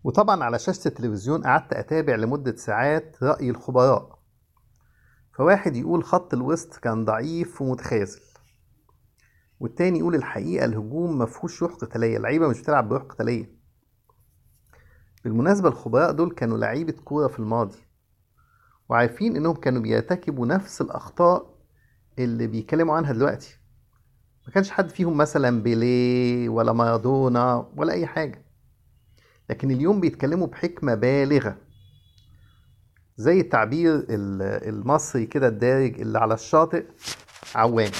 وطبعا على شاشة التلفزيون قعدت أتابع لمدة ساعات رأي الخبراء. فواحد يقول خط الوسط كان ضعيف ومتخاذل، والتاني يقول الحقيقة الهجوم مفهوش روح قتالية، اللعيبة مش بتلعب بروح قتالية. بالمناسبة الخبراء دول كانوا لعيبة كورة في الماضي، وعارفين إنهم كانوا بيرتكبوا نفس الأخطاء اللي بيتكلموا عنها دلوقتي. ما كانش حد فيهم مثلا بيليه ولا مارادونا ولا أي حاجة، لكن اليوم بيتكلموا بحكمة بالغة، زي التعبير المصري كده الدارج اللي على الشاطئ عوام.